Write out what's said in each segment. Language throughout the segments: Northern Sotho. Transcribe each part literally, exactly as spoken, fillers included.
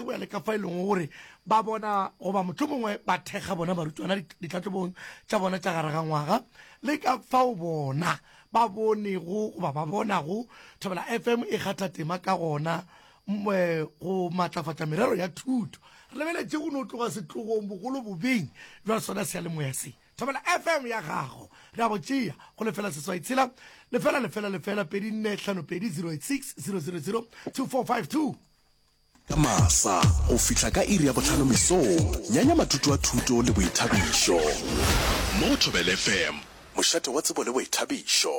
go ya le ka fa e leng gore ba bona goba mohlomongwe ba thekga bona barutwana ditlhahlobong tša bona tša gare ga ngwaga, le ka fao bona ba bonego goba ba bonago Thobela F M e kgatha tema ka gona go matlafatša merero ya thuto. Re lebeletše go no tloga setlogong bogolo bobeng bja sona seyalemoya se. Thobela F M ya gago re a bo tšea go lefela seswai tshela lefela lefela lefela pedi nne hlano pedi zero eight six zero zero zero two four five two. Ka masa go fihla ka iri ya bohlano mesong, nyanya matutu a thuto le boithabišo. Mo go Thobela F M, mošate wa tsebo le boithabišo.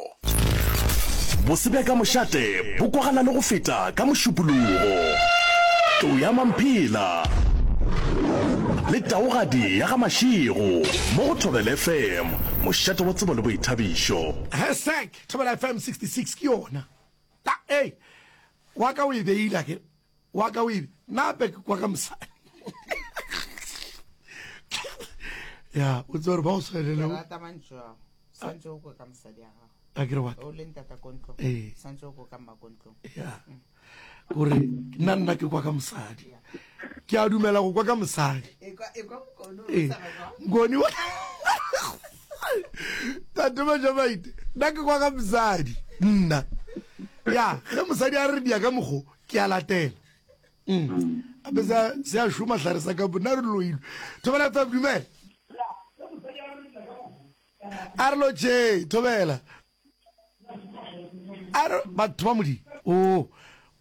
Bose bja ka mošate bo kwagala le go feta ka Mošupologo. Tlou ya Mamphela le Taugadi ya ga Mashego mo go Thobela F M, mošate wa tsebo le boithabišo. Hashtag Thobela F M sixty-six ke yona. Ta ei wa ka o e beile ke wa ka o e nape ke kwa ka mosadi ya o tsebe gore ba o swanele. Ke rata mantšu ao. Swantse o kwe ka mosadi ya gago. A ke re wa O le ntata ko ntlong. Ee. Swantse o kwe ka mma ko ntlong. Ya, gore nna nna ke kwa ka mosadi, ke a dumela go kwa ka mosadi. Ee, ngoni wa tate Majamaite, nna ke kwa ka mosadi nna. Ya ge mosadi a re dia ka mokgo, ke a latela. Mm. Ape se se a šoma hlare sa ka nna re loilwe. Thobela F M, dumela. A re lotše, thobela. A re batho ba modimo o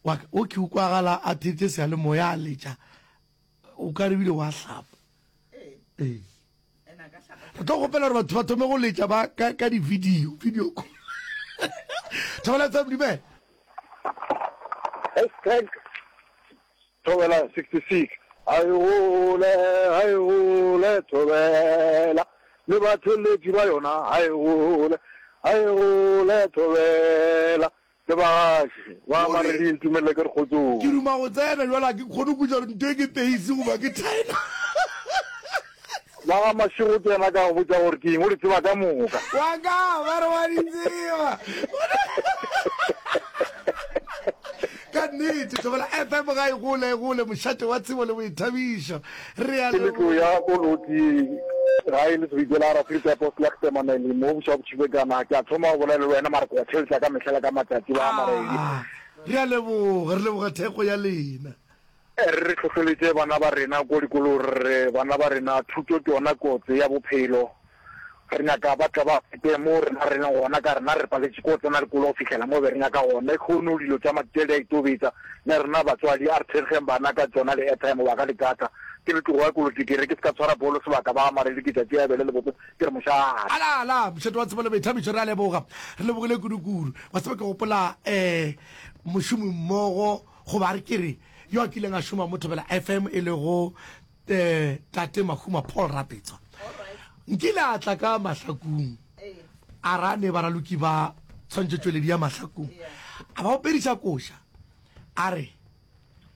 wa o ke ukwagala a thetse seyalemoya a letša o ka re bile wa hlapa. Ee, re tlo gopela gore batho ba thome go letša ba ka ka di-video video call. Thobela F M, dumela. Hashtag Thobela sixty-six. Hai gole, hai gole, Thobela le batheletši ba yona. Hai gole, hai gole, Thobela le bagaši ba Maredi. Ntumelele ke re kgotsong. Ke duma go tsena jalo, a ke kgone go gore ntho e ke peisi goba ke thaena. Ba ga Mašego ke yena ka go botša gore ke eng, o di tseba ka moka. Wa ka ba re wa di tseba ka nnete. Thobela F M ga e gole e gole, mošate wa tsebo le boithabišo. Re a Ke letlo ya koloti ga e le sebitse la Afrika Postlegtemanele mo boša botšhibekana. Ke a thoma go bolela le wena, mara ke wa theletša ka mehla le ka matšatši ba Maredi. Ah, re a leboga, re leboga thekgo ya lena. Re re hlohleletše bana ba rena ko dikolong, re bana ba rena thuto ke yona kotse ya bophelo. Re nyaka ba tla ba fete mo rena re leng gona, ka rena re paletše ko tsena dikolo go fihlela mo be re nyaka gona. Kgono dilo tša matšatši di a itobetsa le rena batswadi, a re thekgeng bana ka tsona le airtime ba ka le data. Ke letlogo ya koloti, ke re ke se ka tshwara bolo sebaka ba Maredi. Ke tšatši ya bele le botse, ke re mošate. Ala ala, mošate wa tsebo le boithabišo. Re a leboga, re lebogile kudu-kudu. Wa tseba, ke gopola um mošomi mmogo goba re ke re yo a kileng a šoma mo Thobela F M, e lego um tate Mahuma Paul Rapetswa, nkile a tla ka Mahlakung, a ra ne baraloki ba tshwantšhetšweledi ya Mahlakung, a ba opediša koša, a re